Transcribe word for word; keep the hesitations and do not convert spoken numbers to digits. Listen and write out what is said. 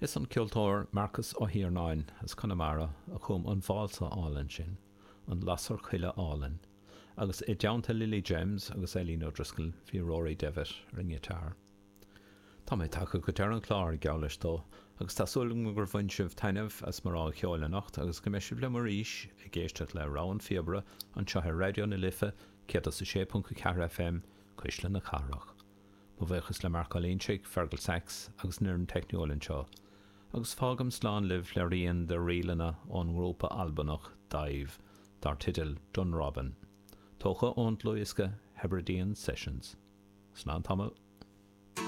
Is an ceoltóir Marcus Ó hIarnáin as Conamara a chum an válsa álainn sin, an Lasair Choille Álainn, agus i dteannta Lily James agus Eileen O'Driscoll bhí Rory Devitt ar an ngiotár. Tá mé tagtha go deireadh an chláir, geall leis dó, agus tá súil agam gur bhain sibh taitneamh as mo rogha cheoil anocht agus go mbeidh sibh liom arís ag éisteacht le Rogha an Phíobaire anseo ar Raidió na Life céad is a sé ponc a ceathair FM, Cuisle na Cathrach. Mo bhuíochas le Marc Ó Loingsigh, Fergal Sachs agus an fhoireann teicniúil anseo. Agus fágaim slán libh le rian de ríleanna ón ngrúpa Albanach Dive dar teideal Dunrobin. Tógtha ón dlúthdhiosca Hebridean Sessions. Slán tamall.